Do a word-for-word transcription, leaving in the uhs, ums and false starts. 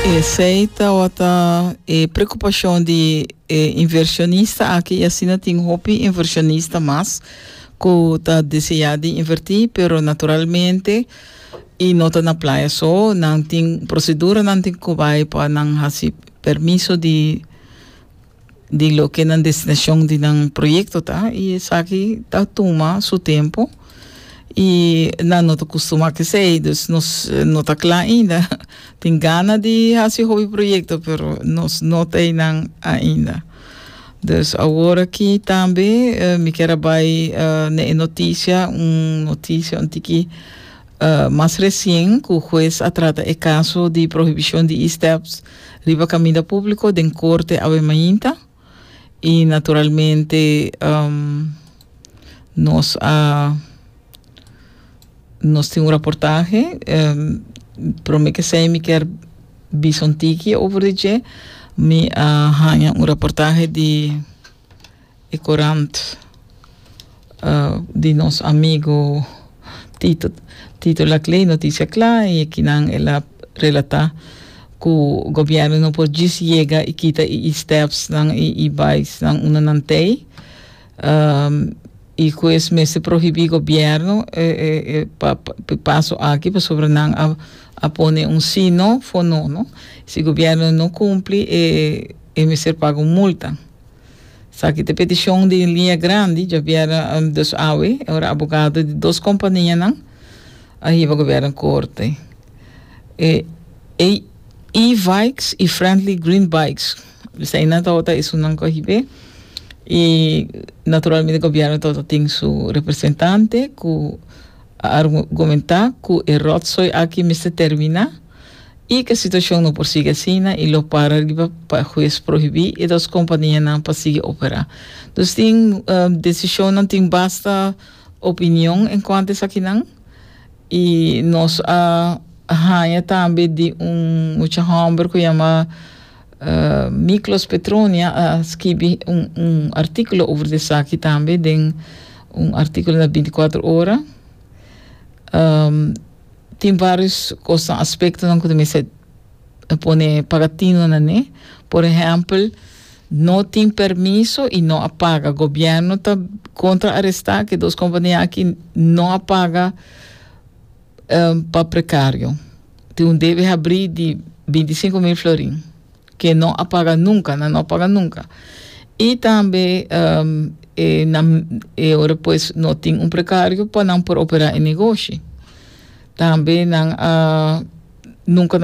Esei ta e preokupashon di eh, invershonista aki i asina tin hopi invershonista mas ku ta deseá di invertí, pero naturalmente e no ta na Playa so, nan tin prosedura, nan tin ku bai pa nan hasi permiso di di loke nan destinashon di nan proyekto ta i esaki ta tuma su tempu i nan no ta kustumá ku esei, dus nos no ta kla ainda. Tin gana di hasi hopi proyekto, pero nos no tin ainda. Dus awor aki tambe uh, mi ke bai uh, na notisia, un notisia un tiki uh, mas resien ku hues a trata e kaso di prohibishon di e-steps riba kaminda públiko den korte awe mainta i naturalmente um, nos a nos tin un reportahe um, promé ku esei mi ke bisa un tiki over di dje. Mi a haña un reportahe di e korant uh, di nos amigu Tito Tito Laclé, Notisia Kla, i akinan el a relatá ku gobièrnu no por djis yega i kita e steps nan e e-bikes nan unda nan t'ei um, i ku esei mester prohibí gobièrnu eh, eh, eh, pa, pa, paso aki pasobra nan a, a pone un si no fo no no si gobièrnu no kumpli e e mester paga un multa. Esaki ta petishon di liña grandi djabièrnè um, dus awe ora abogado di dos kompania nan a hiba gobièrnu korte e e e-bikes i Friendly Green Bikes esei nan tabata esunnan ku a hib'é i naturalmente gobièrnu tin su representante ku a argumentá ku e rotzooi aki mester terminá i ku e situashon no por sigui asina i lo para pa hues prohibí e dos kompanianan pa sigui operá. Dus tin um, desishon, tin basta opinion enkuanto esakinan i nos a haña tambe di un mucha hòmber ku yama uh, Miklos Petronia a skirbi un, un artíkulo over esaki tambe, den un artíkulo na bintikuater Ora. Um, tin vários kos, aspektonan ku mester pone paga tinu na ne. Por ehèmpel, no tin permiso i no a paga. Gobièrnu ta kontra-arestá ku dos kompania aki no a paga um, pa prekario. Tin un debe habrí di bintisinku mil florin, ku no a paga nunka, no, no a paga nunka. I tambe um, e, na, e ora pues no tin un prekario pa nan por operá e negoshi. Tambe nan uh, nunka